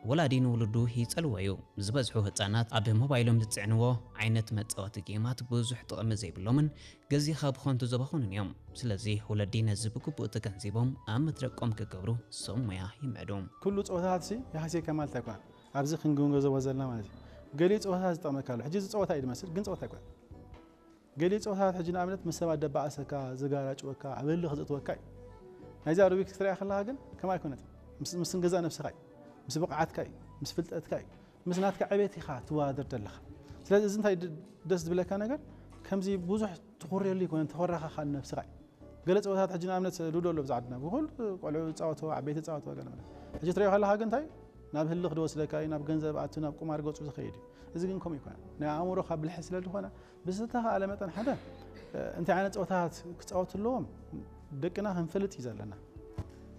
ወላዲ ንውሉዱ ይጸልዎ እዩ። ዝበዝሑ ህጻናት ኣብ ሞባይሎም ዝጽዕንዎ ዓይነት መጻወቲ ጌማት ብዙሕ ጥቕሚ ዘይብሎምን ግዜኻ ብኸንቱ ዘባኽኑን እዮም። ስለዚ ወለዲ ነዚ ብግቡእ ተገንዚቦም ኣብ መድረቆም ክገብሩ ሰብ ሞያ ይምዕዱ። ኩሉ ጸወታታት ሲ ይሃስየካ ማለት ኣይኮነን። ኣብዚ ክንግንዘቦ ዘለና ማለት እዩ። ገሊኡ ጸወታታት ዝጠቕመካ ኣሎ። ሕጂ እዚ ጸወታ እዩ ዝመስል፣ ግን ጸወታ ኣይኮነን። ገሊኡ ጸወታታት ሕጂ ንኣብነት ምስ ሰባት ደባኣሰካ፣ ዝጋራጭወካ፣ ኣብ ህልኽ ዘእትወካ እዩ። ናይዚ ኣሮቢክስ ክትሪኣ ከለኻ ግን ከምኣ ኣይኮነትን። ምስ ምስ ገዛእ ነብስኻ እዩ። ምስ ብቕዓትካ እዩ። ምስ ፍልጠትካ እዩ። ምስ ናትካ ዕቤት ኢኻ ትወዳደር ዘለኻ። ስለዚ እዚ እንታይ ድ- ደስ ዝብለካ ነገር ከምዚ ብዙሕ ትኹርየሉ ኣይኮነን፣ ተኾራኻ ከኣ ንነብስኻ እዩ። ገለ ጸወታታት ሕጂ ንኣብነት ሉዶ ኣሎ ኣብዚ ዓድና። ብኹሉ ቆልዑ ዝጻወትዎ፣ ዓበይቲ ዝጻወትዎ ገለ መለ። ሕጂ ትሪኦ ከለኻ ግን እንታይ ናብ ህልኽ ዝወስደካ እዩ፣ ናብ ገንዘብ ኣቱ፣ ናብ ቁማር ገጹ ዝኸይድ እዩ። እዚ ግን ከምኡ ኣይኮነን። ናይ ኣእምሮኻ ብልሒ ስለ ዝኾነ ብዝተኻእለ መጠን ሓደ እንታይ ዓይነት ጸወታታት ክጻወቱ ኣለዎም ደቅና ክንፈልጥ እዩ ዘለና።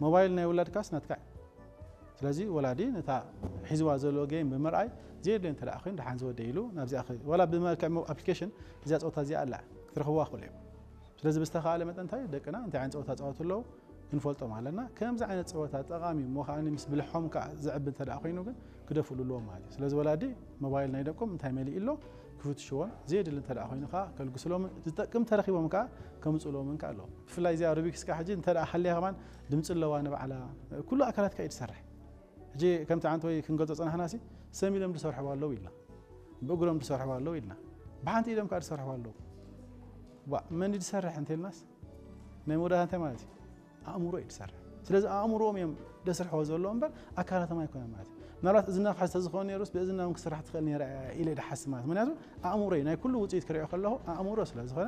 ሞባይል ናይ ውላድካስ ናትካ እዩ። ስለዚ ወላዲ ነታ ሒዝዋ ዘሎ ጌም ብምርኣይ ዘየድልዮ እንተ ደኣ ኮይኑ ደሓን ዝወደ ኢሉ ናብዚኣ ክኸይድ ዋላ ብመልክዕ ኣፕሊኬሽን እዚኣ ጸወታ እዚኣ ኣላ ክትረኽብዋ ክኽእሉ እዮም። ስለዚ ብዝተኻእለ መጠን እንታይ ደቅና እንታይ ዓይነት ጸወታ ጻወቱ ኣለዉ ክንፈልጦም ኣለና። ከምዚ ዓይነት ጸወታ ጠቓሚ እሞ ከኣ ምስ ብልሖም ከኣ ዘዕቢ እንተ ደኣ ኮይኑ ግን ክደፍእሉ ኣለዎም ማለት እዩ። ስለዚ ወላዲ ሞባይል ናይ ደቆም እንታይ መሊኡ ኣሎ ክፍትሽዎን ዘየድሊ እንተ ደኣ ኮይኑ ከኣ ከልግስሎምን ዝጠቅም ተረኺቦም ከኣ ከምጽእሎምን ከኣ ኣለዎም። ብፍላይ እዚኣ ሩቢክስ ከኣ ሕጂ እንተ ደኣ ሃልያ ከማን ድምጺ ኣለዋ ንባዕላ ኩሉ ኣካላትካ እዩ ዝሰርሕ። ሕጂ ከምቲ ዓንተወይ ክንገልጾ ጸናሕናሲ ሰም ኢሎም ዝሰርሕዋ ኣለዉ ኢልና ብእግሮም ዝሰርሕዋ ኣለዉ ኢልና ብሓንቲ ኢዶም ከኣ ዝሰርሕዋ ኣለዉ። ዋ መን ድዩ ዝሰርሕ እንተ ኢልናስ ናይ መወዳእታ እንታይ ማለት እዩ? ኣእምሮ እዩ ዝሰርሕ። ስለዚ ኣእምሮኦም እዮም ደስርሕዎ ዘለዉ እምበር ኣካላቶም ኣይኮነን ማለት እዩ። ምናልባት እዝና ክሕዝ ተዝኸውን ነይሩስ ብእዝና እውን ክስራሕ ትኽእል ነይራ እያ ኢለ ድሓስብ ማለት እዩ። ምክንያቱ ኣእምሮ እዩ ናይ ኩሉ ውፅኢት ክሪኦ ከለኹ ኣእምሮ ስለ ዝኾነ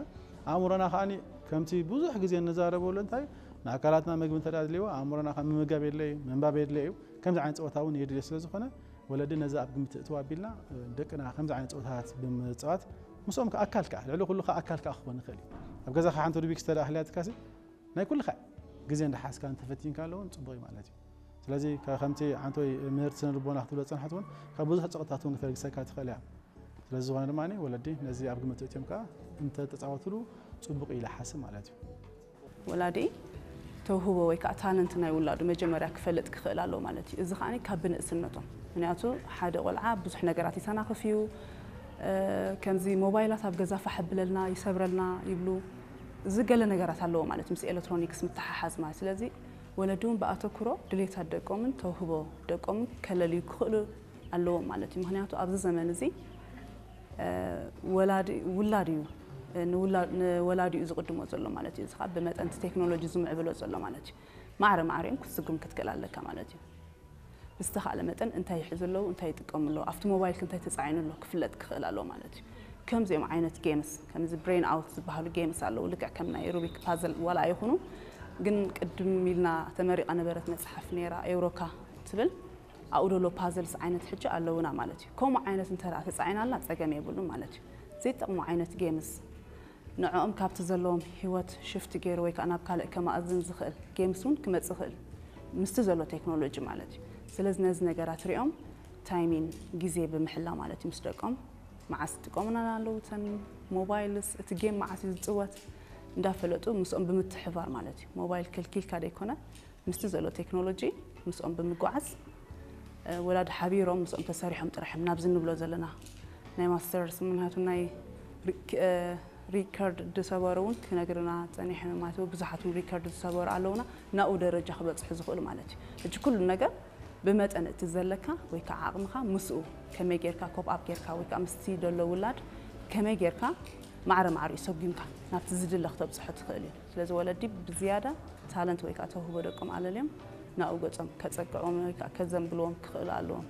ኣእምሮና ከዓኒ ከምቲ ብዙሕ ግዜ እንዛረበሉ እንታይ እዩ ንኣካላትና ምግቢ እንተ ኣድልይዎ ኣእምሮና ከዓ ምምጋብ የድለዩ ምንባብ የድለዩ ከምዚ ዓይነት ፀወታ እውን የድልዮ ስለ ዝኾነ ወለዲ ነዚ ኣብ ግምት እትው ኣቢልና ደቅና ከምዚ ዓይነት ፀወታታት ብምፅዋት ምስኦም ከዓ ኣካል ከዓ ልዕሊ ኩሉ ከዓ ኣካል ከዓ ክኾን ይኽእል እዩ ኣብ ገዛኻ ሓንቲ ሩቢክስ ተዳ ኣህልያትካሲ ናይ ኩልኻ ግዜ እንዳሓዝካ እንተፈቲንካ ኣለውን ፅቡቅ እዩ ማለት እዩ ስለዚ ከምቲ ሓንቶይ ምህርቲ ስነ ልቦና ክትብሎ ዝፀንሐት እውን ካብ ብዙሕ ፀቕጥታት እውን ክተልግሰካ ትኽእል እያ ስለዚ ዝኾነ ድማ ወለዲ ነዚ ኣብ ግምት እትዮም ከዓ እንተተፃወትሉ ፅቡቅ እዩ ኢለ ሓስብ ማለት እዩ ወላዲ ተውህቦ ወይ ከዓ ታለንት ናይ ውላዱ መጀመርያ ክፈልጥ ክኽእል ኣለዎ ማለት እዩ። እዚ ከዓ ካብ ብንእስነቶም ምክንያቱ ሓደ ቆልዓ ብዙሕ ነገራት ይተናኽፍ እዩ። ከምዚ ሞባይላት ኣብ ገዛ ፋሕ ብለልና ይሰብረልና ይብሉ። እዚ ገለ ነገራት ኣለዎ ማለት ምስ ኤሌክትሮኒክስ ምትሓሓዝ ማለት ስለዚ ወለዲ እውን ብኣተኩሮ ድሌታት ደቆምን ተውህቦ ደቆምን ከለልዩ ክኽእሉ ኣለዎም ማለት እዩ። ምክንያቱ ኣብዚ ዘመን እዚ ውላድ እዩ ንወላዲኡ ዝቕድሞ ዘሎ ማለት እዩ። እዚ ከዓ ብመጠን እቲ ቴክኖሎጂ ዝምዕብሎ ዘሎ ማለት እዩ። ማዕረ ማዕሪኦም ክትስጉም ክትክእል ኣለካ ማለት እዩ። ብዝተኻእለ መጠን እንታይ ይሕዙ ኣለዉ፣ እንታይ ይጥቀሙ ኣለዉ፣ ኣብቲ ሞባይልክ እንታይ ተፃዒኑ ኣሎ ክፍለጥ ክኽእል ኣለዎ ማለት እዩ። ከምዚኦም ዓይነት ጌምስ ከምዚ ብሬን ኣውት ዝበሃሉ ጌምስ ኣለዉ። ልክዕ ከም ናይ ሩቢክ ፓዘል ዋላ ኣይኹኑ ግን ቅድም ኢልና ተመሪቓ ነበረት መፅሓፍ ነይራ ኤውሮካ ትብል ኣብኡ ደሎ ፓዘልስ ዓይነት ሕጂ ኣለውና ማለት እዩ። ከምኡ ዓይነት እንተ ተፃዒናልና ፀገም የብሉን ማለት እዩ። ዘይጠቕሙ ዓይነት ጌምስ ንዕኦም ካብቲ ዘለዎም ህይወት ሽፍቲ ገይሩ ወይ ከዓ ናብ ካልእ ከማእዝን ዝኽእል ጌምስ እውን ክመፅእ ይኽእል ምስቲ ዘሎ ቴክኖሎጂ ማለት እዩ። ስለዚ ነዚ ነገራት ሪኦም ታይሚን ግዜ ብምሕላ ማለት እዩ ምስ ደቆም መዓስ ይጥቀሙና ኣለዉ እተን ሞባይልስ እቲ ጌም መዓስ እዩ ዝፅወት እንዳፈለጡ ምስኦም ብምትሕባር ማለት እዩ። ሞባይል ከልኪልካ ደይኮነ ምስቲ ዘሎ ቴክኖሎጂ ምስኦም ብምጓዓዝ ወላዲ ሓቢሮም ምስኦም ተሰሪሖም ጥራሕ እዮም ናብዚ ንብሎ ዘለና ናይ ማስተርስ ምክንያቱ ናይ ሪከርድ ዝሰበሩ እውን ክነግርና ፀኒሐ ማለት ብዙሓት እውን ሪከርድ ዝሰበሩ ኣለውና ናብኡ ደረጃ ክበፅሑ ዝኽእሉ ማለት እዩ። ሕጂ ኩሉ ነገር ብመጠን እቲ ዘለካ ወይ ከዓ ዓቕምኻ ምስኡ ከመይ ጌርካ ኮፕ ኣፕ ጌርካ ወይ ከዓ ምስቲ ደሎ ውላድ ከመይ ጌርካ ማዕረ ማዕሪኡ ሰጒምካ ናብቲ ዝድለ ክተብፅሖ ትኽእል እዩ። ስለዚ ወለዲ ብዝያዳ ታለንት ወይ ከዓ ተውህቦ ደቆም ኣለልዮም ናብኡ ገፆም ከፀግዕዎም ወይ ከዓ ከዘንብልዎም ክኽእሉ ኣለዎም።